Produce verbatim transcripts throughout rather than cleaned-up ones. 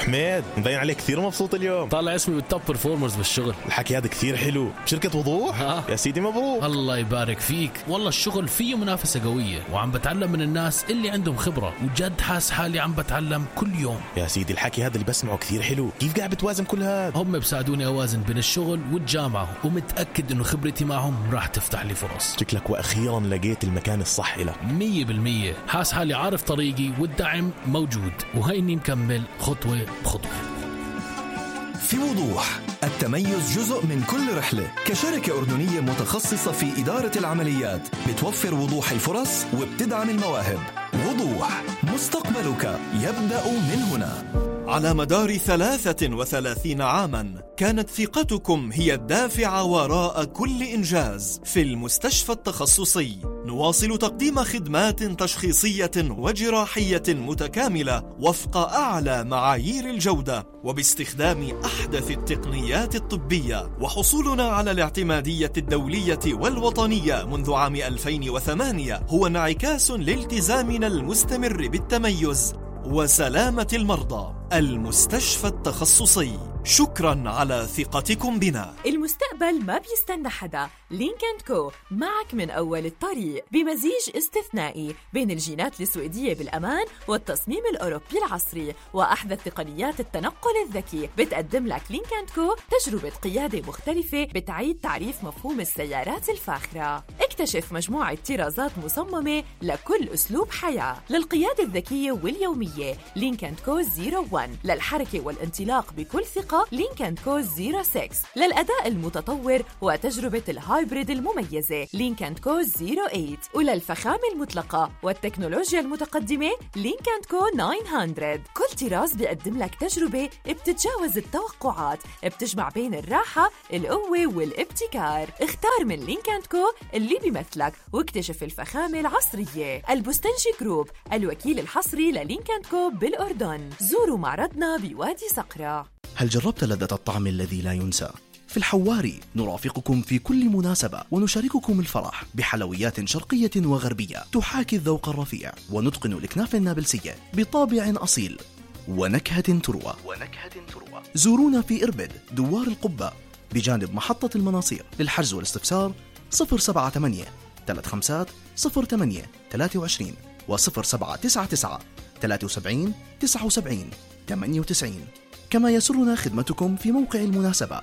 حميد مبين عليك كثير مبسوط اليوم. طالع اسمي بالتوب برفورمرز بالشغل. الحكي هذا كثير حلو. بشركة وضوح؟ ها. يا سيدي مبروك. الله يبارك فيك. والله الشغل فيه منافسة قوية وعم بتعلم من الناس اللي عندهم خبرة وجد حاس حالي عم بتعلم كل يوم. يا سيدي الحكي هذا اللي بسمعه كثير حلو. كيف قاعد بتوازن كل هذا؟ هم بساعدوني أوازن بين الشغل والجامعة ومتأكد إنه خبرتي معهم راح تفتح لي فرص. شكلك وأخيرا لقيت المكان الصح لك. مية بالمية. حاس حالي عارف طريقي والدعم موجود وهيني مكمل خطوة بخطوة. في وضوح، التميز جزء من كل رحلة. كشركة أردنية متخصصة في إدارة العمليات بتوفر وضوح الفرص وبتدعم المواهب. وضوح، مستقبلك يبدأ من هنا. على مدار ثلاثة وثلاثين عاماً كانت ثقتكم هي الدافع وراء كل إنجاز. في المستشفى التخصصي نواصل تقديم خدمات تشخيصية وجراحية متكاملة وفق أعلى معايير الجودة وباستخدام أحدث التقنيات الطبية. وحصولنا على الاعتمادية الدولية والوطنية منذ عام ألفين وثمانية هو انعكاس لالتزامنا المستمر بالتميز وسلامة المرضى. المستشفى التخصصي، شكرا على ثقتكم بنا. المستقبل ما بيستنى حدا. لينك أند كو معك من أول الطريق بمزيج استثنائي بين الجينات السويدية بالأمان والتصميم الأوروبي العصري وأحدث تقنيات التنقل الذكي. بتقدم لك لينك أند كو تجربة قيادة مختلفة بتعيد تعريف مفهوم السيارات الفاخرة. اكتشف مجموعة طرازات مصممة لكل أسلوب حياة. للقيادة الذكية واليومية لينك أند كو صفر واحد. للحركة والانطلاق بكل ثقة لينك أند كو صفر ستة. للأداء المتطور وتجربة الهايبريد المميزة لينك أند كو صفر ثمانية. وللفخامة المطلقة والتكنولوجيا المتقدمة لينك أند كو تسعمية. كل طراز بيقدم لك تجربة بتتجاوز التوقعات، بتجمع بين الراحة، القوة والابتكار. اختار من لينك أند كو اللي بيمثلك واكتشف الفخامة العصرية. البستنجي جروب، الوكيل الحصري للينك أند كو بالأردن. زوروا معرضنا بوادي صقرة. هل جربت لذة الطعم الذي لا ينسى؟ في الحواري نرافقكم في كل مناسبة ونشارككم الفرح بحلويات شرقية وغربية تحاكي الذوق الرفيع ونتقن الكنافة النابلسية بطابع أصيل ونكهة تروى. ونكهة تروى. زورونا في إربد دوار القبة بجانب محطة المناصير. للحجز والاستفسار صفر سبعة ثمانية ثلاثة خمسة صفر ثمانية ثلاثة وعشرين وصفر سبعة تسعة تسعة ثلاثة سبعين تسعة وسبعين ثمانية وتسعين. كما يسرنا خدمتكم في موقع المناسبة.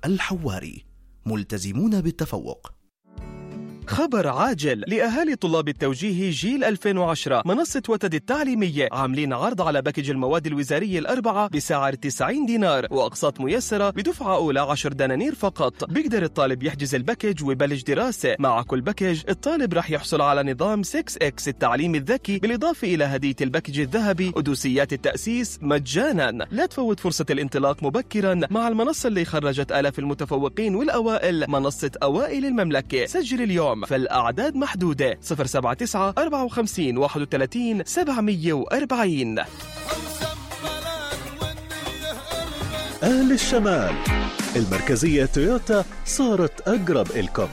الحواري، ملتزمون بالتفوق. خبر عاجل لأهالي طلاب التوجيه جيل ألفين وعشرة. منصة وتد التعليمية عاملين عرض على باكج المواد الوزارية الأربعة بسعر تسعين دينار وأقساط ميسرة بدفعة أولى عشر دنانير فقط. بيقدر الطالب يحجز الباكج ويبلش دراسة. مع كل باكج الطالب رح يحصل على نظام ستة إكس التعليم الذكي بالإضافة إلى هدية الباكج الذهبي ودوسيات التأسيس مجانا. لا تفوت فرصة الانطلاق مبكرا مع المنصة اللي خرجت آلاف المتفوقين والأوائل، منصة أوائل المملكة. سجل اليوم فالأعداد محدودة. صفر سبعة تسعة أربعة وخمسين واحد وثلاثين سبعمية وأربعين. أهل الشمال، المركزية تويوتا صارت أقرب إلكم.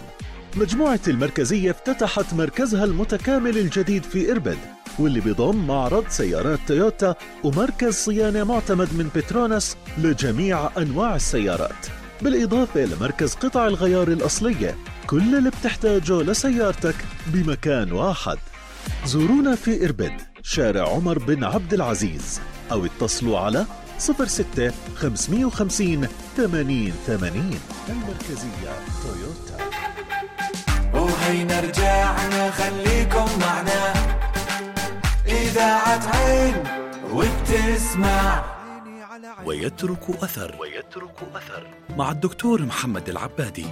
مجموعة المركزية افتتحت مركزها المتكامل الجديد في إربد، واللي بيضم معرض سيارات تويوتا ومركز صيانة معتمد من بتروناس لجميع أنواع السيارات، بالإضافة لمركز قطع الغيار الأصلية. كل اللي بتحتاجه لسيارتك بمكان واحد. زورونا في إربد شارع عمر بن عبد العزيز أو اتصلوا على صفر ستة خمسمية وخمسين ثمانين ثمانين. المركزية تويوتا. وهينا رجعنا خليكم معنا إذاعة عين وبتسمع ويترك أثر. ويترك أثر مع الدكتور محمد العبادي.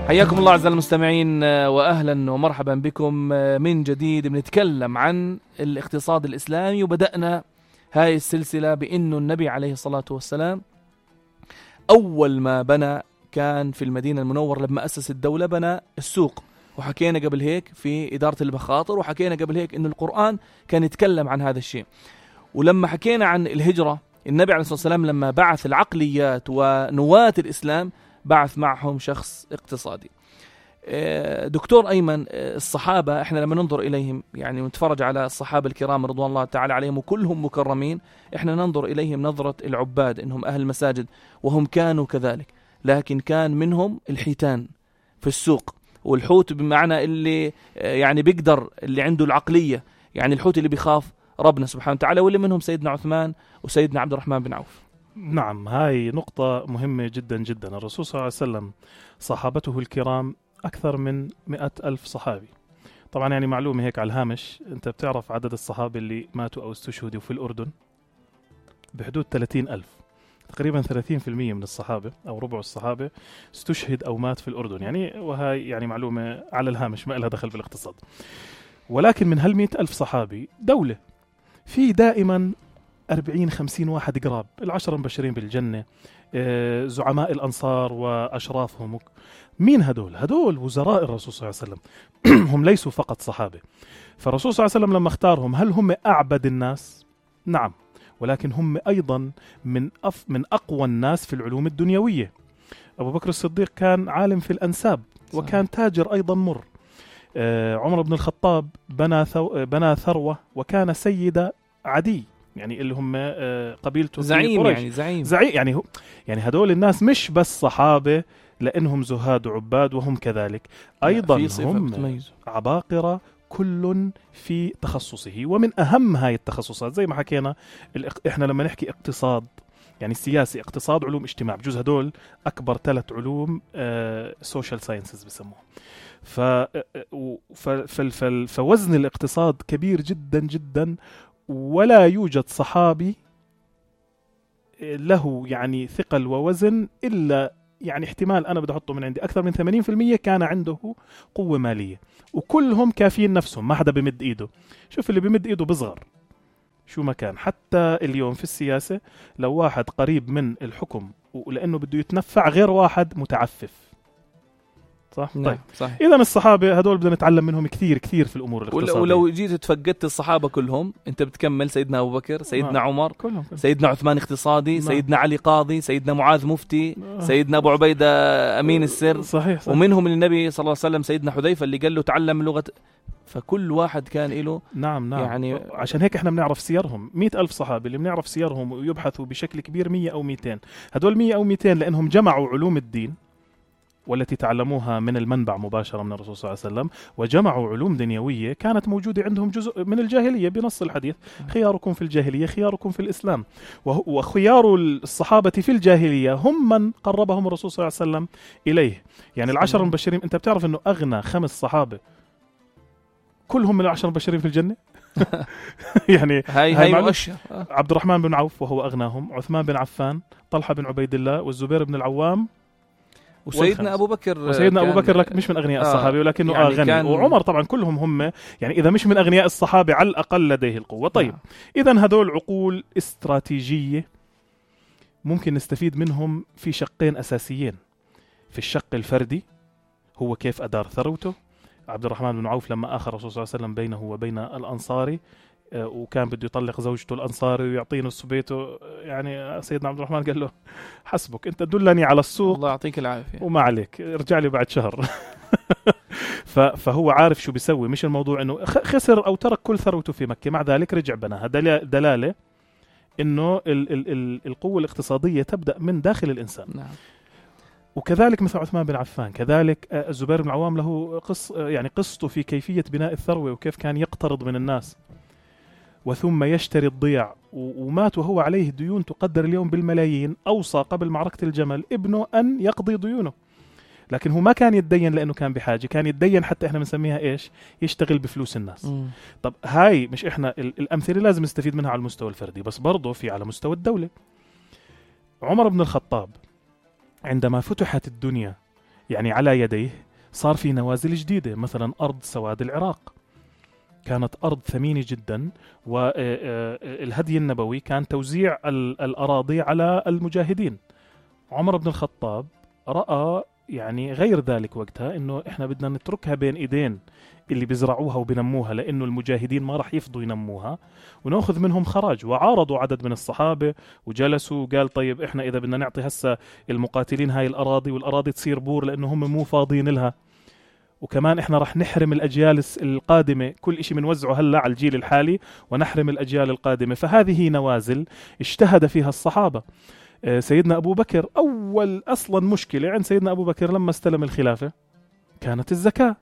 حياكم الله أعزائي المستمعين وأهلا ومرحبا بكم من جديد. بنتكلم عن الاقتصاد الإسلامي وبدأنا هاي السلسلة بأنه النبي عليه الصلاة والسلام أول ما بنى كان في المدينة المنورة. لما أسس الدولة بنى السوق، وحكينا قبل هيك في إدارة المخاطر، وحكينا قبل هيك أنه القرآن كان يتكلم عن هذا الشيء. ولما حكينا عن الهجرة، النبي عليه الصلاة والسلام لما بعث العقليات ونواة الإسلام بعث معهم شخص اقتصادي. دكتور أيمن، الصحابة احنا لما ننظر إليهم يعني ونتفرج على الصحابة الكرام رضوان الله تعالى عليهم وكلهم مكرمين، احنا ننظر إليهم نظرة العباد إنهم أهل المساجد، وهم كانوا كذلك، لكن كان منهم الحيتان في السوق، والحوت بمعنى اللي يعني بيقدر، اللي عنده العقلية، يعني الحوت اللي بيخاف ربنا سبحانه وتعالى، واللي منهم سيدنا عثمان وسيدنا عبد الرحمن بن عوف. نعم، هاي نقطة مهمة جدا جدا. الرسول صلى الله عليه وسلم صحابته الكرام أكثر من مئة ألف صحابي. طبعا يعني معلومة هيك على الهامش، أنت بتعرف عدد الصحابة اللي ماتوا أو استشهدوا في الأردن؟ بحدود ثلاثين ألف، تقريبا ثلاثين بالمئة من الصحابة أو ربع الصحابة استشهد أو مات في الأردن يعني، وهاي يعني معلومة على الهامش ما لها دخل بالاقتصاد. ولكن من هالمئة ألف صحابي دولة في دائما أربعين خمسين واحد قراب، العشرة المبشرين بالجنة، زعماء الأنصار وأشرافهم. مين هدول؟ هدول وزراء الرسول صلى الله عليه وسلم هم ليسوا فقط صحابة. فالرسول صلى الله عليه وسلم لما اختارهم، هل هم أعبد الناس؟ نعم، ولكن هم أيضا من أف من أقوى الناس في العلوم الدنيوية. أبو بكر الصديق كان عالم في الأنساب وكان تاجر أيضا مر. عمر بن الخطاب بنى بنى ثروة وكان سيد عدي، يعني اللي هم قبيلته زعيم يعني زعيم زعيم يعني هو يعني هدول الناس مش بس صحابة لأنهم زهاد وعباد، وهم كذلك أيضا هم عباقرة كل في تخصصه. ومن أهم هاي التخصصات زي ما حكينا، إحنا لما نحكي اقتصاد يعني سياسي، اقتصاد، علوم اجتماع، بجوز هدول أكبر ثلاث علوم سوشيال ساينسز بسموه. ف فوزن الاقتصاد كبير جدا جدا، ولا يوجد صحابي له يعني ثقل ووزن إلا يعني احتمال أنا بدي أحطه من عندي أكثر من ثمانين بالمئة كان عنده قوة مالية، وكلهم كافيين نفسهم، ما حدا بمد إيده. شوف اللي بمد إيده بصغر شو ما كان. حتى اليوم في السياسة لو واحد قريب من الحكم ولأنه بده يتنفع غير واحد متعفف، صح؟ نعم. طيب صحيح. إذا الصحابة هدول بدنا نتعلم منهم كثير كثير في الأمور الاقتصادية. ولو جيت تفقدت الصحابة كلهم، أنت بتكمل سيدنا أبو بكر، سيدنا آه. عمر، كلهم كلهم. سيدنا عثمان اقتصادي، نعم. سيدنا علي قاضي، سيدنا معاذ مفتي، آه. سيدنا أبو عبيدة أمين السر. صحيح, صحيح. ومنهم النبي صلى الله عليه وسلم سيدنا حذيفة اللي قال له تعلم لغة. فكل واحد كان له نعم نعم يعني عشان هيك احنا بنعرف سيرهم. مئة ألف صحابي اللي بنعرف سيرهم ويبحثوا بشكل كبير مية أو مئتين. هدول مية أو مئتين لأنهم جمعوا علوم الدين والتي تعلموها من المنبع مباشرة من الرسول صلى الله عليه وسلم، وجمعوا علوم دنيوية كانت موجودة عندهم جزء من الجاهلية بنص الحديث: خياركم في الجاهلية خياركم في الإسلام. وخيار الصحابة في الجاهلية هم من قربهم الرسول صلى الله عليه وسلم إليه. يعني العشر المبشرين، أنت بتعرف أنه أغنى خمس صحابة كلهم من العشر المبشرين في الجنة. يعني هاي هاي مؤشر. عبد الرحمن بن عوف وهو أغناهم، عثمان بن عفان، طلحة بن عبيد الله، والزبير بن العوام، وسيدنا أبو بكر. وسيدنا أبو بكر لك مش من أغنياء آه الصحابة ولكنه يعني غني كان... وعمر طبعا كلهم هم يعني إذا مش من أغنياء الصحابة على الأقل لديه القوة. طيب آه. إذن هذول عقول استراتيجية ممكن نستفيد منهم في شقين أساسيين. في الشق الفردي هو كيف أدار ثروته. عبد الرحمن بن عوف لما آخر الرسول صلى الله عليه وسلم بينه وبين الأنصاري وكان بده يطلق زوجته الأنصاري ويعطيه نص بيته، يعني سيدنا عبد الرحمن قال له حسبك أنت دلني على السوق الله يعطيك العافية وما عليك ارجع لي بعد شهر. فهو عارف شو بيسوي، مش الموضوع أنه خسر أو ترك كل ثروته في مكة، مع ذلك رجع بناها. دلالة أنه ال ال ال القوة الاقتصادية تبدأ من داخل الإنسان. نعم. وكذلك مثل عثمان بن عفان، كذلك الزبير بن العوام له قص يعني قصته في كيفية بناء الثروة وكيف كان يقترض من الناس وثم يشتري الضيع، ومات وهو عليه ديون تقدر اليوم بالملايين. أوصى قبل معركة الجمل ابنه أن يقضي ديونه، لكن هو ما كان يتدين لأنه كان بحاجة، كان يتدين حتى إحنا بنسميها إيش؟ يشتغل بفلوس الناس. م. طب هاي مش إحنا الأمثلة لازم نستفيد منها على المستوى الفردي، بس برضه في على مستوى الدولة. عمر بن الخطاب عندما فتحت الدنيا يعني على يديه صار في نوازل جديدة، مثلا أرض سواد العراق كانت أرض ثمينة جدا، والهدي النبوي كان توزيع الأراضي على المجاهدين. عمر بن الخطاب رأى يعني غير ذلك وقتها إنه إحنا بدنا نتركها بين إيدين اللي بيزرعوها وبنموها، لأنه المجاهدين ما رح يفضوا ينموها، ونأخذ منهم خراج. وعارضوا عدد من الصحابة وجلسوا وقال طيب إحنا إذا بدنا نعطي هسا المقاتلين هاي الأراضي والأراضي تصير بور لأنه هم مو فاضيين لها، وكمان إحنا رح نحرم الأجيال القادمة كل إشي منوزعه هلأ على الجيل الحالي ونحرم الأجيال القادمة. فهذه نوازل اجتهد فيها الصحابة. سيدنا أبو بكر أول أصلا مشكلة عند سيدنا أبو بكر لما استلم الخلافة كانت الزكاة،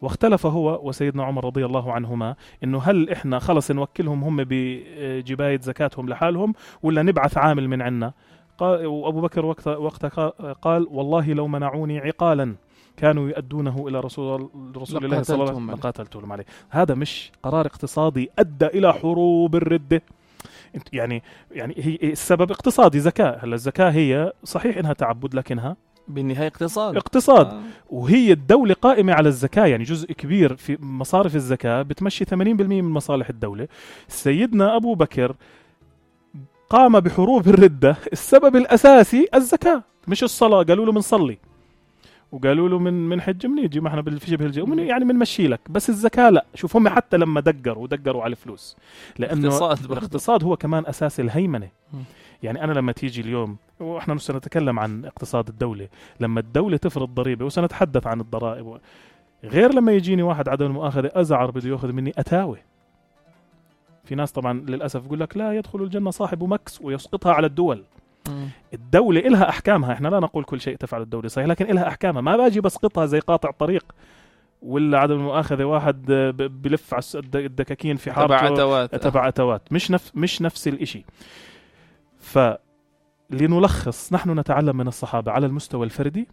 واختلف هو وسيدنا عمر رضي الله عنهما إنه هل إحنا خلص نوكلهم هم بجباية زكاتهم لحالهم ولا نبعث عامل من عنا. قال وأبو بكر وقت وقتها قال والله لو منعوني عقالا كانوا يؤدونه إلى رسول رسول الله صلى الله عليه وسلم لقاتلتهم عليه. هذا مش قرار اقتصادي أدى إلى حروب الردة، يعني يعني هي السبب اقتصادي زكاة. هلا الزكاة هي صحيح إنها تعبد لكنها بالنهاية اقتصاد اقتصاد آه. وهي الدولة قائمة على الزكاة، يعني جزء كبير في مصارف الزكاة بتمشي ثمانين بالمئة من مصالح الدولة. سيدنا أبو بكر قام بحروب الردة، السبب الأساسي الزكاة مش الصلاة. قالوا له منصلي وقالوا له من من حج منيجي ما احنا بالشبه الجو يعني بنمشي لك، بس الزكاة لا. شوف هم حتى لما دقروا ودقروا على الفلوس لأنه الاقتصاد, الاقتصاد هو كمان أساس الهيمنة. يعني أنا لما تيجي اليوم وإحنا سنتكلم عن اقتصاد الدولة، لما الدولة تفرض ضريبة وسنتحدث عن الضرائب، غير لما يجيني واحد عدم المؤاخذة أزعر بده يأخذ مني أتاوي. في ناس طبعا للأسف يقول لك لا يدخل الجنة صاحب مكس ويسقطها على الدول. م. الدولة إلها أحكامها، إحنا لا نقول كل شيء تفعل الدولة صحيح، لكن إلها أحكامها. ما باجي بسقطها زي قاطع طريق ولا عدم المؤاخذة واحد بلف على الدكاكين في حارته تبع أتوات تبع أتوات مش نفس مش نفس الإشي. فلنلخص نحن نتعلم من الصحابة على المستوى الفردي،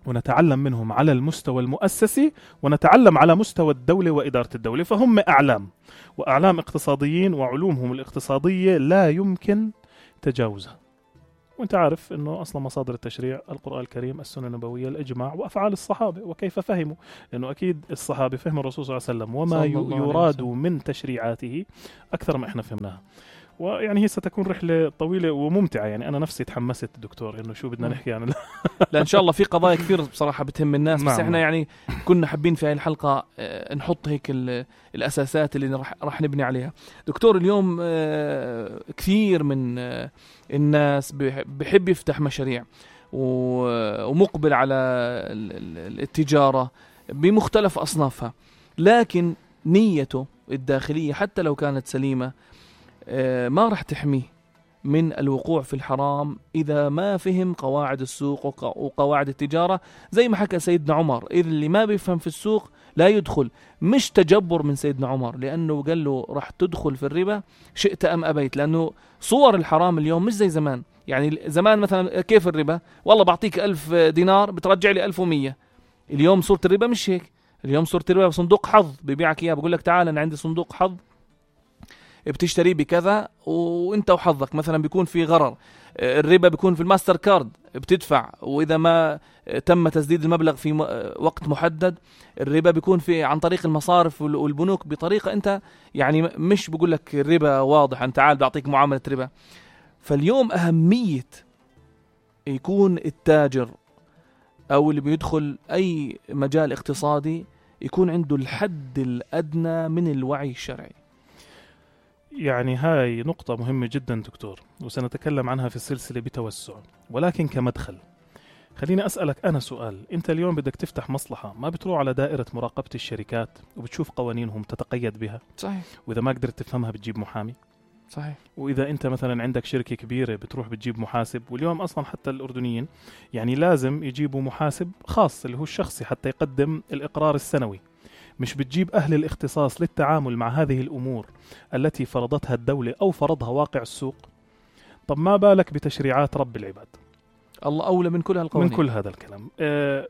ونتعلم منهم على المستوى المؤسسي، ونتعلم على مستوى الدولة وإدارة الدولة. فهم أعلام وأعلام اقتصاديين، وعلومهم الاقتصادية لا يمكن تجاوزها. وانت عارف انه اصلا مصادر التشريع القرآن الكريم، السنة النبوية، الاجماع، وافعال الصحابة وكيف فهموا، لانه اكيد الصحابة فهموا الرسول صلى الله عليه وسلم وما يراد من تشريعاته اكثر ما احنا فهمناها. ويعني هي ستكون رحلة طويلة وممتعة. يعني أنا نفسي تحمست دكتور إنه شو بدنا نحكي عن لا إن شاء الله في قضايا كثير بصراحة بتهم الناس. بس إحنا يعني كنا حابين في هاي الحلقة نحط هيك الأساسات اللي رح, رح نبني عليها. دكتور اليوم كثير من الناس بحب يفتح مشاريع ومقبل على التجارة بمختلف أصنافها، لكن نيته الداخلية حتى لو كانت سليمة ما رح تحميه من الوقوع في الحرام إذا ما فهم قواعد السوق وقواعد التجارة. زي ما حكى سيدنا عمر، إذا اللي ما بيفهم في السوق لا يدخل. مش تجبر من سيدنا عمر، لأنه قال له رح تدخل في الربا شئت أم أبيت، لأنه صور الحرام اليوم مش زي زمان. يعني زمان مثلا كيف الربا؟ والله بعطيك ألف دينار بترجع لي ألف ومية. اليوم صورة الربا مش هيك. اليوم صورة الربا صندوق حظ بيبيعك إياه، بقول لك تعال أنا عندي صندوق حظ بتشتري بكذا وانت وحظك. مثلا بيكون في غرر، الربا بيكون في الماستر كارد، بتدفع واذا ما تم تسديد المبلغ في وقت محدد. الربا بيكون في عن طريق المصارف والبنوك بطريقة انت يعني مش بقول لك الربا واضح انت تعال بعطيك معاملة ربا. فاليوم اهمية يكون التاجر او اللي بيدخل اي مجال اقتصادي يكون عنده الحد الادنى من الوعي الشرعي. يعني هاي نقطة مهمة جدا دكتور، وسنتكلم عنها في السلسلة بتوسع، ولكن كمدخل خليني أسألك أنا سؤال. أنت اليوم بدك تفتح مصلحة، ما بتروح على دائرة مراقبة الشركات وبتشوف قوانينهم تتقيد بها؟ صحيح. وإذا ما قدرت تفهمها بتجيب محامي. صحيح. وإذا أنت مثلا عندك شركة كبيرة بتروح بتجيب محاسب. واليوم أصلا حتى الأردنيين يعني لازم يجيبوا محاسب خاص اللي هو الشخصي حتى يقدم الإقرار السنوي. مش بتجيب أهل الاختصاص للتعامل مع هذه الأمور التي فرضتها الدولة أو فرضها واقع السوق. طب ما بالك بتشريعات رب العباد؟ الله أولى من كل هالقوانين. من كل هذا الكلام. آه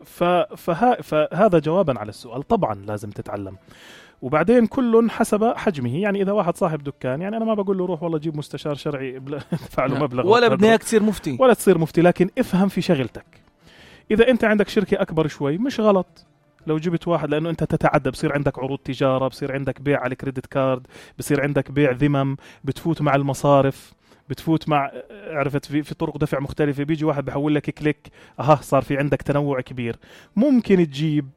فها فهذا جوابا على السؤال. طبعا لازم تتعلم، وبعدين كل حسب حجمه. يعني إذا واحد صاحب دكان، يعني أنا ما بقول له روح والله جيب مستشار شرعي ادفع له مبلغ، ولا بدنا تصير مفتي ولا تصير مفتي، لكن افهم في شغلتك. إذا أنت عندك شركة أكبر شوي مش غلط لو جبت واحد، لأنه أنت تتعدى، بصير عندك عروض تجارة، بصير عندك بيع على الكريدت كارد، بصير عندك بيع ذمم، بتفوت مع المصارف، بتفوت مع عرفت في, في طرق دفع مختلفة. بيجي واحد بحول لك كليك، أها صار في عندك تنوع كبير. ممكن تجيب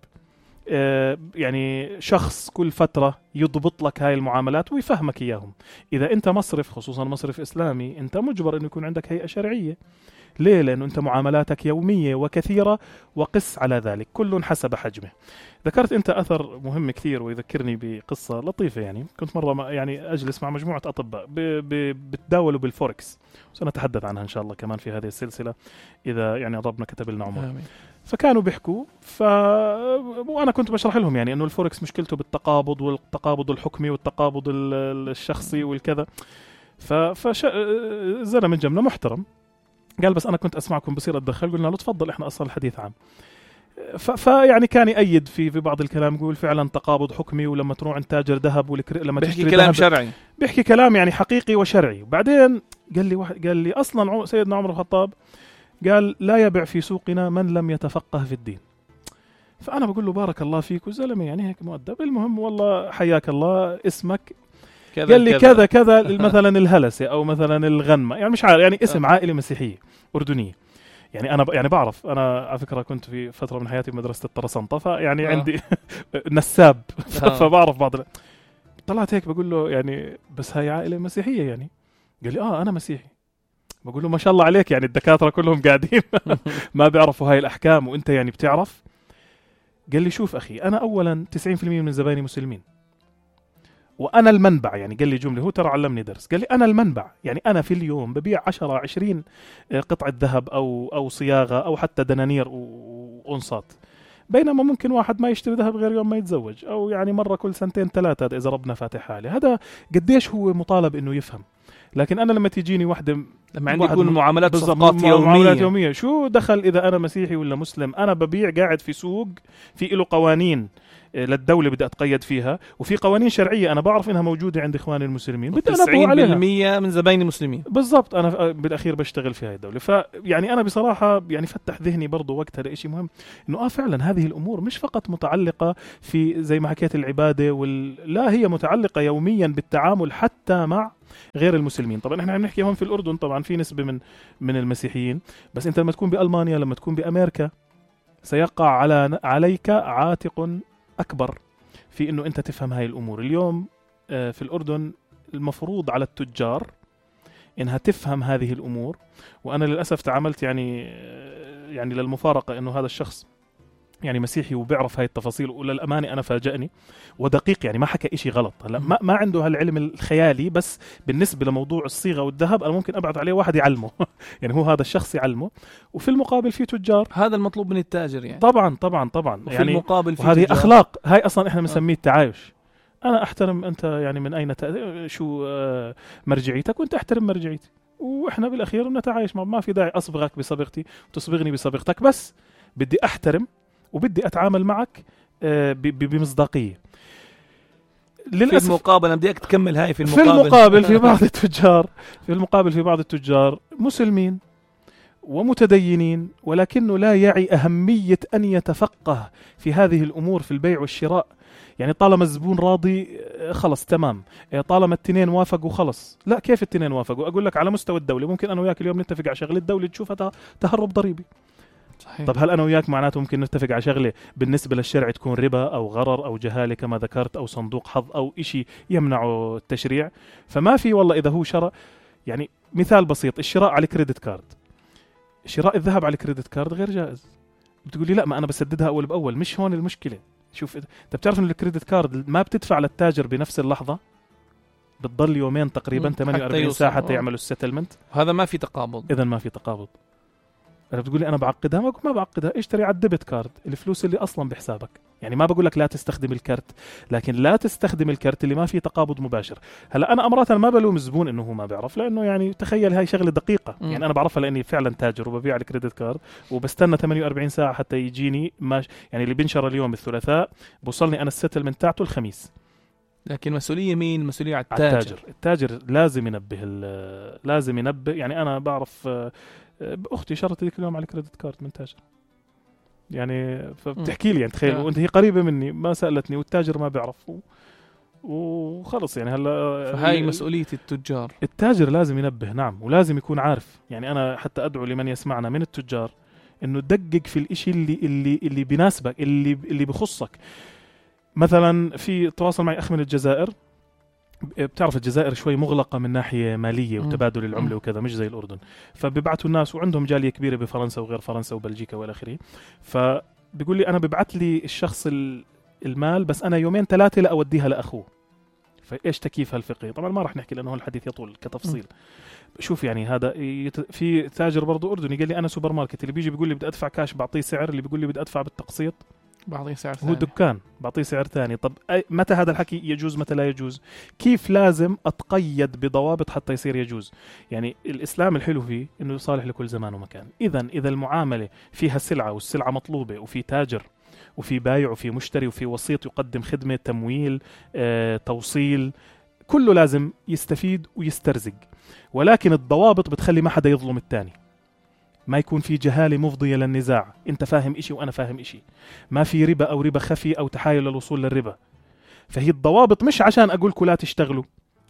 آه يعني شخص كل فترة يضبط لك هاي المعاملات ويفهمك إياهم. إذا أنت مصرف، خصوصا مصرف إسلامي، أنت مجبر أن يكون عندك هيئة شرعية ليه؟ لأنه أنت معاملاتك يومية وكثيرة، وقس على ذلك كل حسب حجمه. ذكرت أنت أثر مهم كثير ويذكرني بقصة لطيفة. يعني كنت مرة يعني أجلس مع مجموعة أطباء بتداولوا بالفوركس، سنتحدث عنها إن شاء الله كمان في هذه السلسلة إذا يعني ربنا كتب لنا عمر. آمين. فكانوا بيحكوا ف... وأنا كنت بشرح لهم يعني أنه الفوركس مشكلته بالتقابض والتقابض الحكمي والتقابض الشخصي والكذا. ف... فش... زلمة من جمنا محترم قال بس أنا كنت أسمعكم بصير أتدخل. قلنا له تفضل إحنا أصلا الحديث عام. فيعني كان يأيد في في بعض الكلام، يقول فعلا تقابض حكمي، ولما تروح عند تاجر ذهب والكر... لما بيحكي كلام شرعي، بيحكي كلام يعني حقيقي وشرعي. وبعدين قال لي واحد قال لي أصلا سيدنا عمر الخطاب قال لا يبيع في سوقنا من لم يتفقه في الدين. فأنا بقول له بارك الله فيك وزلمة يعني هيك مؤدب. المهم والله حياك الله اسمك كذا قال لي كذا كذا مثلا الهلسة أو مثلا الغنمة، يعني مش عارف يعني اسم عائلة مسيحية أردنية. يعني أنا ب... يعني بعرف أنا على فكرة كنت في فترة من حياتي بمدرسة الطرسنطة، فيعني آه. عندي نساب آه. فبعرف بعض. طلعت هيك بقول له يعني بس هاي عائلة مسيحية يعني؟ قال لي آه أنا مسيحي. بقول له ما شاء الله عليك، يعني الدكاترة كلهم قاعدين ما بيعرفوا هاي الأحكام وأنت يعني بتعرف. قال لي شوف أخي أنا أولا تسعين بالمئة من زبايني مسلمين وأنا المنبع. يعني قال لي جملة هو ترى علمني درس، قال لي أنا المنبع، يعني أنا في اليوم ببيع عشرة عشرين قطعة ذهب أو أو صياغة أو حتى دنانير وأنصات، بينما ممكن واحد ما يشتري ذهب غير يوم ما يتزوج، أو يعني مرة كل سنتين ثلاثة إذا ربنا فاتح حاله. هذا قديش هو مطالب إنه يفهم. لكن أنا لما تجيني واحدة لما عندي يكون معاملات صفقات يومية. معاملات يومية شو دخل إذا أنا مسيحي ولا مسلم؟ أنا ببيع قاعد في سوق في له قوانين للدولة بدي أتقيد فيها، وفي قوانين شرعية أنا بعرف إنها موجودة عند إخواني المسلمين بدي تسعين بالمئة من زبايني مسلمين بالضبط. أنا بالأخير بشتغل في هاي الدولة. فيعني أنا بصراحة يعني فتح ذهني برضو وقتها لإشي مهم، إنه آه فعلا هذه الأمور مش فقط متعلقة في زي ما حكيت العبادة وال... لا هي متعلقة يوميا بالتعامل حتى مع غير المسلمين. طبعا احنا عم نحكي هون في الأردن طبعا في نسبة من من المسيحيين، بس أنت لما تكون بألمانيا لما تكون بأمريكا سيقع على عليك عاتق أكبر في إنه أنت تفهم هاي الأمور. اليوم في الأردن المفروض على التجار إنها تفهم هذه الأمور، وأنا للأسف تعاملت يعني يعني للمفارقة إنه هذا الشخص يعني مسيحي وبيعرف هاي التفاصيل، وللأمانة أنا فاجأني ودقيق، يعني ما حكى إشي غلط. هلا ما, ما عنده هالعلم الخيالي، بس بالنسبة لموضوع الصيغة والذهب أنا ممكن أبعث عليه واحد يعلمه يعني هو هذا الشخص يعلمه، وفي المقابل في تجار. هذا المطلوب من التاجر يعني. طبعا طبعا طبعا وفي يعني المقابل في وهذه أخلاق. هاي أصلا إحنا بنسميه التعايش. أنا أحترم أنت يعني من أين ت... شو مرجعيتك وأنت أحترم مرجعيتي، وإحنا بالأخير نتعايش. ما في داعي أصبغك بصبغتي وتصبغني بصبغتك، بس بدي أحترم وبدي أتعامل معك بمصداقية. للأسف في المقابل أنا بدي تكمل هاي في المقابل في المقابل في بعض التجار في المقابل في بعض التجار مسلمين ومتدينين، ولكنه لا يعي أهمية أن يتفقه في هذه الأمور في البيع والشراء. يعني طالما الزبون راضي خلص تمام، طالما التنين وافقوا خلص. لا، كيف التنين وافقوا؟ أقول لك على مستوى الدولة ممكن أنا وياك اليوم نتفق على شغلة الدولة تشوفها تهرب ضريبي. صحيح. طب هل أنا وياك معناته ممكن نتفق على شغلة بالنسبة للشرع تكون ربا أو غرر أو جهالة كما ذكرت أو صندوق حظ أو إشي يمنع التشريع؟ فما في والله إذا هو شرع. يعني مثال بسيط، الشراء على الكريدت كارد، شراء الذهب على الكريدت كارد غير جائز. بتقول لي لا ما أنا بسددها أول بأول. مش هون المشكلة. شوف أنت بتعرف إن الكريدت كارد ما بتدفع للتاجر بنفس اللحظة، بتضل يومين تقريبا ثمانية وأربعين ساعة حتى يعملوا السيتلمنت. هذا ما في تقابض. إذا ما في تقابض. أنا بتقول لي أنا بعقدها، ما ما بعقدها. اشتري على الديبت كارد الفلوس اللي أصلا بحسابك. يعني ما بقول لك لا تستخدم الكارت، لكن لا تستخدم الكارت اللي ما فيه تقابض مباشر. هلا أنا أمرات ما بلوم الزبون إنه هو ما بيعرف، لأنه يعني تخيل هاي شغلة دقيقة. م. يعني أنا بعرفها لأني فعلا تاجر وببيع الكريدت كارد وبستنى ثمانية وأربعين ساعة حتى يجيني ماش. يعني اللي بنشر اليوم الثلاثاء بوصلني أنا السيتلمنت تاعته الخميس. لكن مسؤولية مين؟ مسؤولية على التاجر. التاجر, التاجر لازم ينبه لازم ينبه. يعني أنا بعرف أختي شرطت ذيك اليوم على الكريدت كارد من تاجر، يعني فبتحكي لي يعني تخيل وأنت هي قريبة مني ما سألتني والتاجر ما بيعرف وخلص. يعني هلا فهاي مسؤولية التجار. التاجر لازم ينبه، نعم، ولازم يكون عارف. يعني أنا حتى أدعو لمن يسمعنا من التجار إنه دقق في الإشي اللي اللي اللي بيناسبك، اللي اللي بخصك. مثلا في تواصل معي أخ من الجزائر بتعرف الجزائر شوي مغلقة من ناحية مالية وتبادل العملة وكذا، مش زي الأردن. فبيبعتوا الناس وعندهم جالية كبيرة بفرنسا وغير فرنسا وبلجيكا والى آخره. فبيقول لي أنا ببعت لي الشخص المال بس أنا يومين ثلاثة لأوديها لأخوه. فإيش تكييف هالفقه؟ طبعا ما راح نحكي لأنه الحديث يطول كتفصيل. م. شوف يعني هذا يت... في تاجر برضو أردني قال لي أنا سوبر ماركت، اللي بيجي بيقول لي بدي أدفع كاش بعطيه سعر، اللي بيقول لي بدي أدفع بالتقسيط بعطيه سعر ثاني، هو دكان بعطيه سعر ثاني. طب أي متى هذا الحكي يجوز متى لا يجوز؟ كيف لازم أتقيد بضوابط حتى يصير يجوز؟ يعني الإسلام الحلو فيه إنه يصالح لكل زمان ومكان. إذن إذا المعاملة فيها سلعة والسلعة مطلوبة وفي تاجر وفي بايع وفي مشتري وفي وسيط يقدم خدمة تمويل آه، توصيل، كله لازم يستفيد ويسترزق. ولكن الضوابط بتخلي ما حدا يظلم التاني، ما يكون في جهالة مفضية للنزاع، انت فاهم اشي وانا فاهم اشي، ما في ربا او ربا خفي او تحايل للوصول للربا. فهي الضوابط مش عشان اقولكم لا تشتغلوا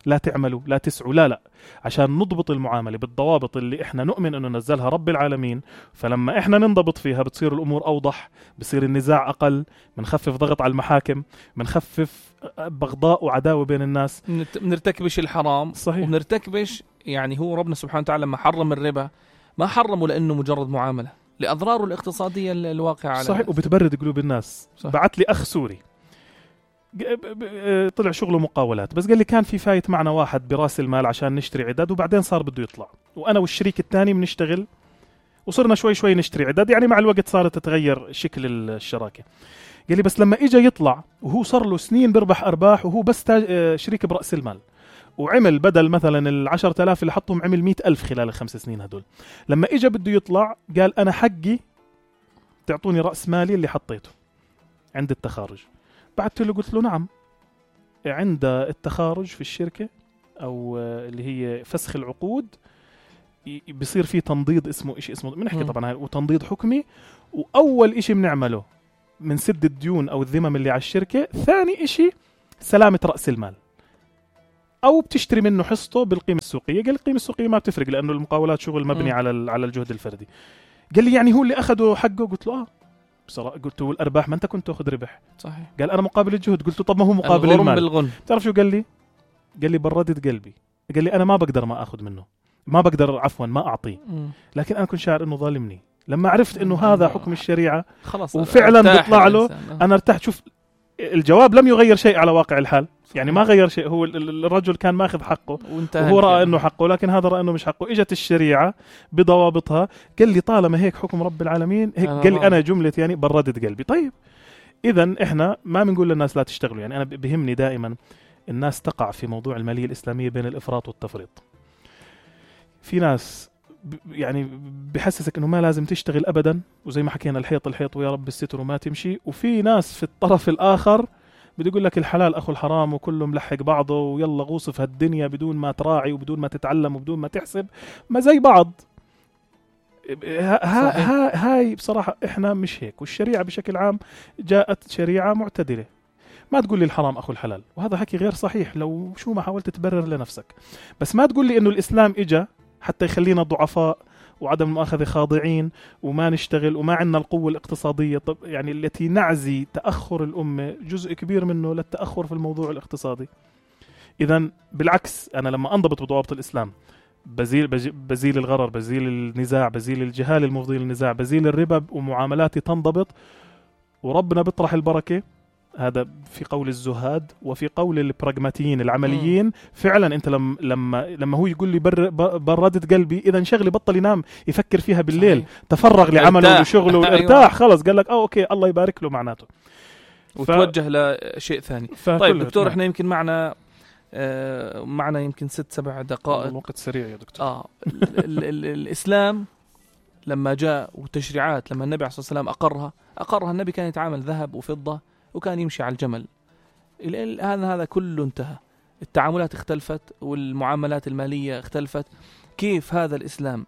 لا تعملوا لا تسعوا، لا لا، عشان نضبط المعاملة بالضوابط اللي احنا نؤمن انه نزلها رب العالمين. فلما احنا ننضبط فيها بتصير الامور اوضح، بصير النزاع اقل، بنخفف ضغط على المحاكم، بنخفف بغضاء وعداوة بين الناس، بنرتكبش الحرام. صحيح. وبنرتكبش يعني هو ربنا سبحانه وتعالى لما حرم الربا ما حرمه لانه مجرد معاملة، لأضراره الاقتصادية الواقعة على صحيح. وبتبرد قلوب الناس. بعت لي أخ سوري طلع شغله مقاولات، بس قال لي كان في فايت معنا واحد براس المال عشان نشتري عدد، وبعدين صار بده يطلع، وأنا والشريك الثاني بنشتغل وصرنا شوي شوي نشتري عدد، يعني مع الوقت صارت تتغير شكل الشراكة. قال لي بس لما إجا يطلع وهو صار له سنين بربح أرباح وهو بس شريك برأس المال، وعمل بدل مثلا العشرة آلاف اللي حطهم عمل مئة ألف خلال الخمس سنين هدول، لما إجا بده يطلع قال أنا حقي تعطوني رأس مالي اللي حطيته عند التخارج. بعت له قلت له نعم، عند التخارج في الشركة أو اللي هي فسخ العقود بيصير فيه تنضيد اسمه إشي اسمه بنحكي طبعا هاي، وتنضيد حكمي، وأول إشي بنعمله من سد الديون أو الذمم اللي على الشركة، ثاني إشي سلامة رأس المال، أو بتشتري منه حصته بالقيمة السوقية. قال القيمة السوقية ما بتفرق لأنه المقاولات شغل مبني م. على على الجهد الفردي. قال لي يعني هو اللي أخده حقه؟ قلت له آه بصراحة. قلت له الأرباح ما أنت كنت تأخذ ربح. صحيح. قال أنا مقابل الجهد. قلت له طب ما هو مقابل المال. بالغن. تعرف شو قال لي؟ قال لي بردت قلبي، قال لي أنا ما بقدر ما أخذ منه، ما بقدر عفوا ما أعطيه، لكن أنا كنت شاعر إنه ظالمني. لما عرفت إنه هذا حكم الشريعة خلاص وفعلا بيطلع له، أنا ارتحت. شوف الجواب لم يغير شيء على واقع الحال، يعني ما غير شيء. هو الرجل كان ماخذ حقه وهو رأى انه حقه، لكن هذا رأى انه مش حقه. اجت الشريعة بضوابطها قال لي طالما هيك حكم رب العالمين هيك. قال لي انا جملة يعني بردت قلبي. طيب اذا احنا ما بنقول للناس لا تشتغلوا، يعني انا بهمني دائما الناس تقع في موضوع المالية الإسلامية بين الإفراط والتفريط. في ناس يعني بحسسك انه ما لازم تشتغل ابدا، وزي ما حكينا الحيط الحيط ويا رب الستر وما تمشي. وفي ناس في الطرف الاخر بده يقول لك الحلال اخو الحرام وكله ملحق بعضه، ويلا غوص في هالدنيا بدون ما تراعي وبدون ما تتعلم وبدون ما تحسب، ما زي بعض. ها ها هاي بصراحة احنا مش هيك، والشريعة بشكل عام جاءت شريعة معتدلة. ما تقول لي الحرام اخو الحلال، وهذا حكي غير صحيح لو شو ما حاولت تبرر لنفسك. بس ما تقول لي انه الاسلام اجا حتى يخلينا ضعفاء وعدم المؤاخذة خاضعين وما نشتغل وما عندنا القوة الاقتصادية. طب يعني التي نعزي تأخر الأمة جزء كبير منه للتأخر في الموضوع الاقتصادي. إذن بالعكس، أنا لما أنضبط بضوابط الإسلام بزيل, بزيل الغرر، بزيل النزاع، بزيل الجهال المفضي للنزاع، بزيل الربا، ومعاملاتي تنضبط وربنا بيطرح البركة. هذا في قول الزهاد وفي قول البراغماتيين العمليين. م. فعلا انت لما لما لما هو يقول لي بر بردت قلبي، اذا شغلي بطل ينام يفكر فيها بالليل. صحيح. تفرغ لعمله وشغله وارتاح. خلص قال لك اه اوكي الله يبارك له معناته، وتوجه ف... لشيء ثاني. طيب دكتور، احنا يمكن معنا آه معنا يمكن ست سبع دقائق، الوقت سريع يا دكتور. اه ال ال الاسلام لما جاء وتشريعات، لما النبي عليه الصلاه والسلام اقرها اقرها النبي كان يتعامل ذهب وفضه وكان يمشي على الجمل. الآن هذا كله انتهى، التعاملات اختلفت والمعاملات المالية اختلفت. كيف هذا الإسلام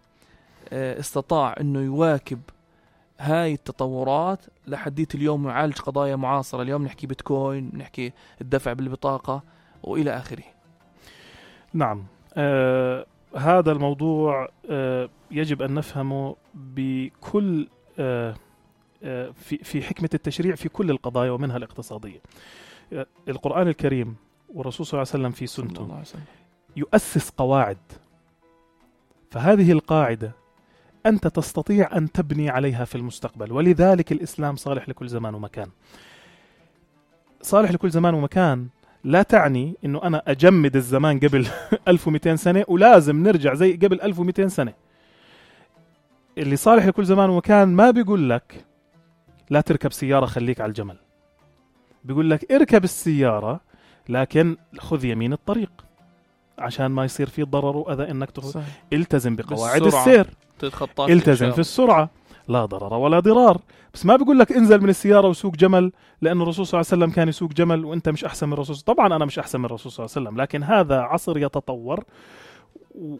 استطاع أنه يواكب هاي التطورات لحديت اليوم يعالج قضايا معاصرة؟ اليوم نحكي بيتكوين، نحكي الدفع بالبطاقة وإلى آخره. نعم، آه هذا الموضوع آه يجب أن نفهمه بكل آه في في حكمة التشريع في كل القضايا ومنها الاقتصادية. القرآن الكريم والرسول صلى الله عليه وسلم في سنته يؤسس قواعد، فهذه القاعدة أنت تستطيع أن تبني عليها في المستقبل. ولذلك الإسلام صالح لكل زمان ومكان. صالح لكل زمان ومكان لا تعني أنه أنا أجمد الزمان قبل ألف ومئتين سنة ولازم نرجع زي قبل ألف ومئتين سنة. اللي صالح لكل زمان ومكان ما بيقول لك لا تركب سيارة خليك على الجمل، بيقول لك اركب السيارة لكن خذ يمين الطريق عشان ما يصير فيه ضرر وأذى إنك تخذ. التزم بقواعد السير، التزم في السرعة، لا ضرر ولا ضرار. بس ما بيقول لك انزل من السيارة وسوق جمل، لأن الرسول صلى الله عليه وسلم كان يسوق جمل وأنت مش أحسن من الرسول. طبعا أنا مش أحسن من الرسول صلى الله عليه وسلم، لكن هذا عصر يتطور،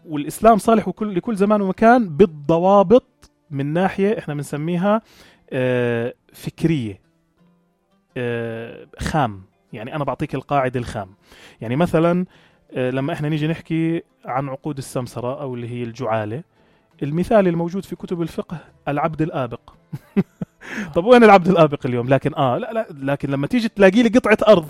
والإسلام صالح لكل زمان ومكان بالضوابط من ناحية إحنا بنسميها فكرية خام. يعني أنا بعطيك القاعدة الخام. يعني مثلا لما إحنا نيجي نحكي عن عقود السمسرة أو اللي هي الجعالة، المثال الموجود في كتب الفقه العبد الآبق. طب وين العبد الآبق اليوم؟ لكن آه لا لا لكن لما تيجي تلاقي لي قطعة أرض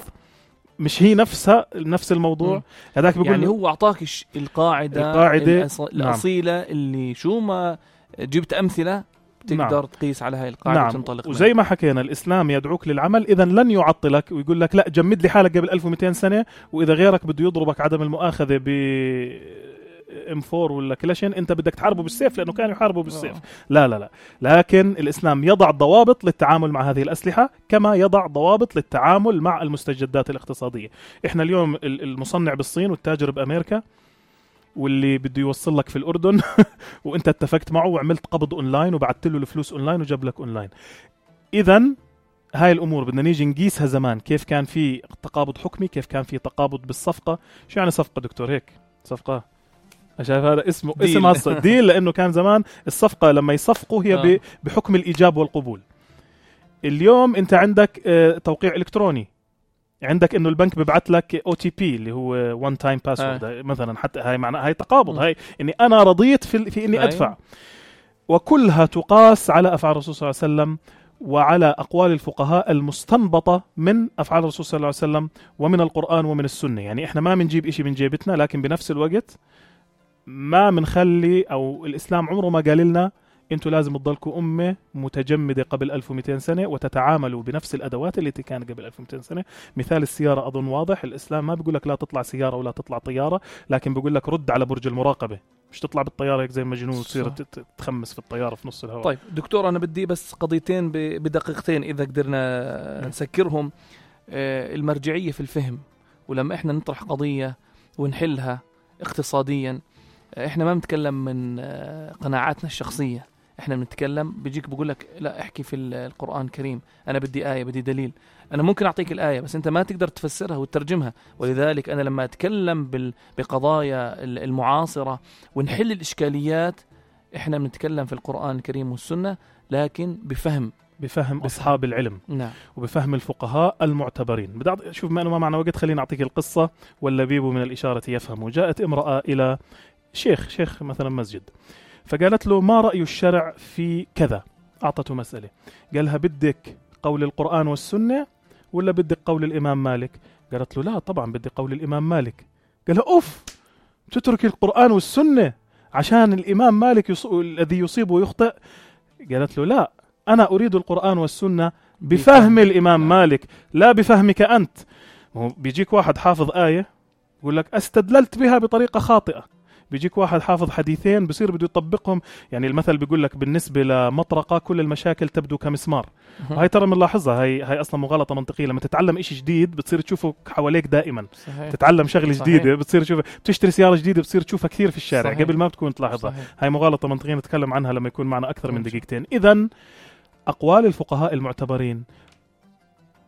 مش هي نفسها نفس الموضوع، هذاك بيقول يعني هو أعطاك القاعدة, القاعدة الأص... الأصيلة اللي شو ما جبت أمثلة تقدر نعم. تقيس على هاي القاعدة نعم. وتنطلق. وزي ما حكينا الإسلام يدعوك للعمل، إذا لن يعطلك ويقول لك لا جمد لي حالك قبل ألف ومئتين سنة، وإذا غيرك بده يضربك عدم المؤاخذة ب إم فور ولا كلاشين أنت بدك تحاربه بالسيف لأنه كانوا يحاربوا بالسيف. أوه. لا لا لا لكن الإسلام يضع ضوابط للتعامل مع هذه الأسلحة كما يضع ضوابط للتعامل مع المستجدات الاقتصادية. إحنا اليوم المصنع بالصين والتاجر بأمريكا واللي بده يوصل لك في الأردن وانت اتفقت معه وعملت قبض أونلاين وبعت له الفلوس أونلاين وجاب لك أونلاين. إذن هاي الأمور بدنا نيجي نقيسها زمان، كيف كان في تقابض حكمي، كيف كان في تقابض بالصفقة. شو يعني صفقة دكتور؟ هيك صفقة شايف هذا اسمه ديل. اسم أصلا ديل، لأنه كان زمان الصفقة لما يصفقوا هي آه. بحكم الإيجاب والقبول. اليوم انت عندك اه توقيع إلكتروني، عندك انه البنك ببعث لك او تي بي اللي هو وان تايم باسورد مثلا، حتى هاي معناها هاي تقابض، م. هاي اني انا رضيت في, في اني ادفع. وكلها تقاس على افعال الرسول صلى الله عليه وسلم وعلى اقوال الفقهاء المستنبطه من افعال الرسول صلى الله عليه وسلم ومن القران ومن السنه. يعني احنا ما بنجيب إشي من جيبتنا، لكن بنفس الوقت ما بنخلي او الاسلام عمره ما قال لنا انتوا لازم تضلكوا أمة متجمدة قبل ألف ومئتين سنة وتتعاملوا بنفس الأدوات اللي كانت قبل ألف ومئتين سنة. مثال السيارة أظن واضح، الإسلام ما بيقول لك لا تطلع سيارة ولا تطلع طيارة، لكن بيقول لك رد على برج المراقبة، مش تطلع بالطيارة هيك زي مجنون وتصير تخمس في الطيارة في نص الهواء. طيب دكتور، أنا بدي بس قضيتين بدقيقتين إذا قدرنا نسكرهم. المرجعية في الفهم، ولما إحنا نطرح قضية ونحلها اقتصاديا إحنا ما بنتكلم من قناعاتنا الشخصية، احنا بنتكلم بيجيك بقول لك لا احكي في القرآن الكريم، انا بدي آية بدي دليل. انا ممكن اعطيك الآية بس انت ما تقدر تفسرها وتترجمها. ولذلك انا لما اتكلم بقضايا المعاصرة ونحل الاشكاليات احنا بنتكلم في القرآن الكريم والسنة، لكن بفهم بفهم أصحاب العلم. نعم. وبفهم الفقهاء المعتبرين. بدي شوف ما ما معنا وقت، خلينا أعطيك القصة واللبيب من الإشارة يفهم. وجاءت امرأة إلى شيخ شيخ مثلا مسجد، فقالت له ما رأي الشرع في كذا؟ أعطته مسألة، قالها بدك قول القرآن والسنة ولا بدك قول الإمام مالك؟ قالت له لا طبعا بدي قول الإمام مالك. قالها أوف، تترك القرآن والسنة عشان الإمام مالك يص... الذي يصيب ويخطئ؟ قالت له لا، أنا أريد القرآن والسنة بفهم الإمام مالك لا بفهمك أنت. بيجيك واحد حافظ آية يقول لك استدللت بها بطريقة خاطئة، بيجيك واحد حافظ حديثين بصير بده يطبقهم. يعني المثل بيقول لك بالنسبة لمطرقة كل المشاكل تبدو كمسمار. وهي ترى بنلاحظها، هي هي أصلا مغالطة منطقية. لما تتعلم إشي جديد بتصير تشوفه حواليك دائما. صحيح. تتعلم شغلة صحيح. جديدة بتصير تشوفها، بتشتري سيارة جديدة بتصير تشوفها كثير في الشارع. صحيح. قبل ما بتكون تلاحظها. صحيح. هاي مغالطة منطقية نتكلم عنها لما يكون معنا أكثر من دقيقتين. إذن أقوال الفقهاء المعتبرين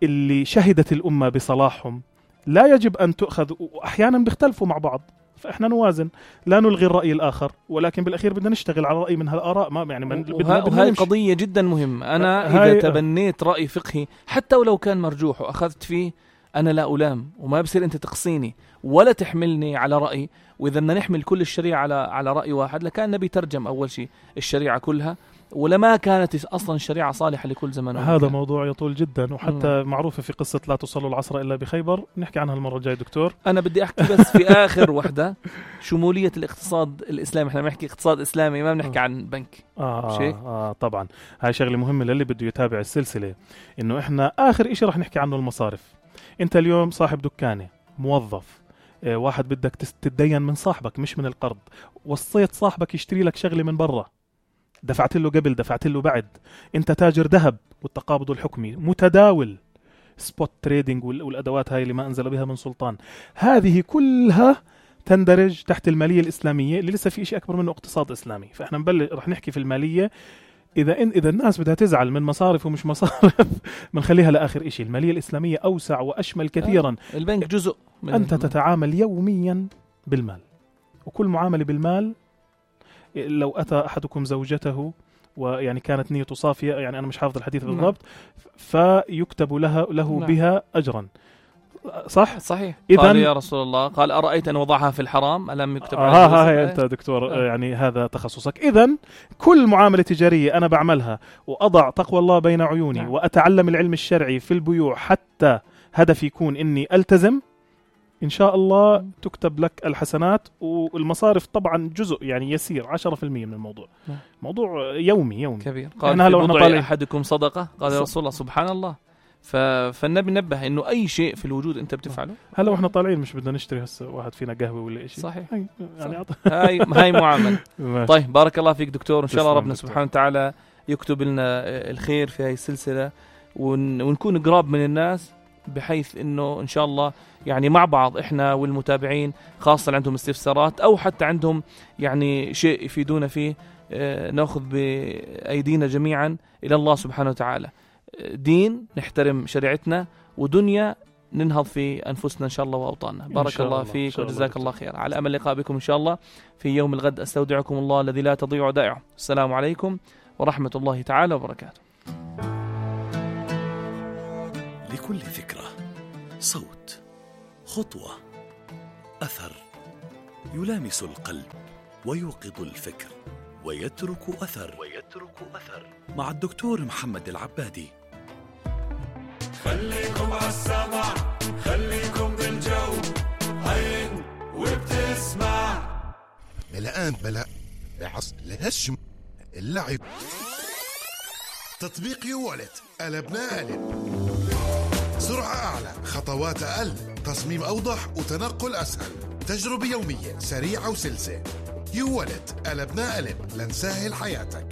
اللي شهدت الأمة بصلاحهم لا يجب أن تؤخذ، وأحيانا بيختلفوا مع بعض، فإحنا نوازن، لا نلغي الرأي الآخر، ولكن بالأخير بدنا نشتغل على رأي من هالآراء. ما يعني من وه... وهي قضية جدا مهمة. أنا إذا تبنيت رأي فقهي حتى ولو كان مرجوح وأخذت فيه، أنا لا ألام، وما بصير أنت تقصيني ولا تحملني على رأي. وإذا بدنا نحمل كل الشريعة على على رأي واحد، لكان النبي ترجم أول شيء الشريعة كلها ولا ما كانت أصلا الشريعة صالحة لكل زمن هذا ومكان. موضوع يطول جدا، وحتى مم. معروفة في قصة لا تصلوا العصر إلا بخيبر، نحكي عنها المرة الجاية دكتور. أنا بدي أحكي بس في آخر وحدة شمولية الاقتصاد الإسلامي. إحنا بنحكي اقتصاد إسلامي، ما بنحكي عن بنك. آه, آه, آه طبعا هاي شغلة مهمة للي بده يتابع السلسلة، إنه إحنا آخر إشي رح نحكي عنه المصارف. أنت اليوم صاحب دكانة، موظف، آه واحد بدك تتدين من صاحبك مش من القرض، وصيت صاحبك يشتري لك شغلة من برا، دفعت له قبل دفعت له بعد، انت تاجر ذهب والتقابض الحكمي متداول، سبوت تريدينج والادوات هاي اللي ما انزل بها من سلطان، هذه كلها تندرج تحت الماليه الاسلاميه اللي لسه في شيء اكبر منه اقتصاد اسلامي. فاحنا نبلش رح نحكي في الماليه. اذا إن اذا الناس بدها تزعل من مصارف ومش مصارف بنخليها لاخر شيء. الماليه الاسلاميه اوسع واشمل كثيرا. البنك جزء من انت تتعامل يوميا بالمال، وكل معامله بالمال لو أتى أحدكم زوجته ويعني كانت نيته صافية، يعني أنا مش حافظ الحديث بالضبط، فيكتب لها له بها أجرا. صح؟ صحيح. قال يا رسول الله، قال أرأيت أن وضعها في الحرام ألم يكتب عليها؟ ها ها أنت دكتور آه. يعني هذا تخصصك. إذن كل معاملة تجارية أنا بعملها وأضع تقوى الله بين عيوني نعم. وأتعلم العلم الشرعي في البيوع حتى هدفي يكون إني ألتزم، إن شاء الله تكتب لك الحسنات. والمصارف طبعا جزء يعني يسير عشرة في المية من الموضوع. موضوع يومي يومي كبير. قال في بضع أحدكم صدقة، قال يا رسول الله سبحان الله. ف... فالنبي نبه إنه أي شيء في الوجود أنت بتفعله. هلا وإحنا طالعين مش بدنا نشتري هسه واحد فينا قهوة ولا إشي. صحيح. هاي يعني صح. هاي هاي معاملة. طيب بارك الله فيك دكتور، إن شاء الله ربنا سبحانه وتعالى يكتب لنا الخير في هاي السلسلة، ون... ونكون قراب من الناس، بحيث انه ان شاء الله يعني مع بعض احنا والمتابعين خاصة اللي عندهم استفسارات او حتى عندهم يعني شيء يفيدونا فيه، اه ناخذ بايدينا جميعا الى الله سبحانه وتعالى. دين نحترم شريعتنا، ودنيا ننهض في انفسنا ان شاء الله واوطاننا. بارك الله فيك وجزاك الله خير. على امل اللقاء بكم ان شاء الله في يوم الغد. استودعكم الله الذي لا تضيع ودائعه. السلام عليكم ورحمة الله تعالى وبركاته. لكل فكرة صوت، خطوة، أثر يلامس القلب ويوقظ الفكر ويترك أثر ويترك أثر مع الدكتور محمد العبادي. خليكم عالسمع، خليكم بالجو، عين وبتسمع. ملآن ملأ بعص لهالشم اللعب. تطبيق يوالت قلبنا قلب، سرعة أعلى، خطوات أقل، تصميم أوضح وتنقل أسهل، تجربة يومية سريعة وسلسة. يوالت قلبنا قلب لنسهل حياتك.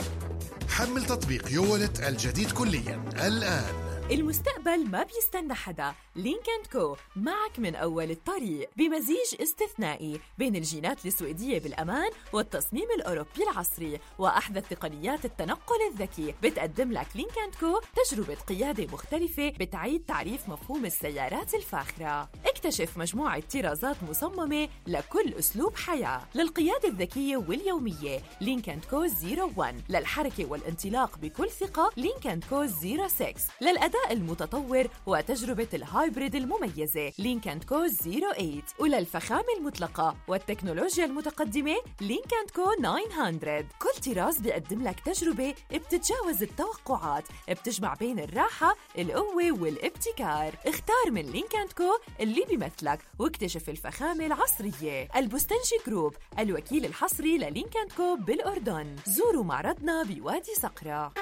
حمل تطبيق يوالت الجديد كليا الآن. المستقبل ما بيستنى حدا. لينك أند كو معك من أول الطريق، بمزيج استثنائي بين الجينات السويدية بالأمان والتصميم الأوروبي العصري وأحدث تقنيات التنقل الذكي. بتقدم لك لينك أند كو تجربة قيادة مختلفة بتعيد تعريف مفهوم السيارات الفاخرة. اكتشف مجموعة طرازات مصممة لكل أسلوب حياة. للقيادة الذكية واليومية لينك أند كو صفر واحد، للحركة والانطلاق بكل ثقة لينك أند كو صفر ستة، للأداء المتطور وتجربة الهايبريد المميزة لينك أند كو صفر ثمانية، وللفخامة المطلقة والتكنولوجيا المتقدمة لينك أند كو تسعمية. كل طراز بيقدم لك تجربة بتتجاوز التوقعات، بتجمع بين الراحة، القوة والابتكار. اختار من لينك أند كو اللي بيمثلك واكتشف الفخامة العصرية. البستنجي جروب، الوكيل الحصري للينك أند كو بالأردن. زوروا معرضنا بوادي صقرة.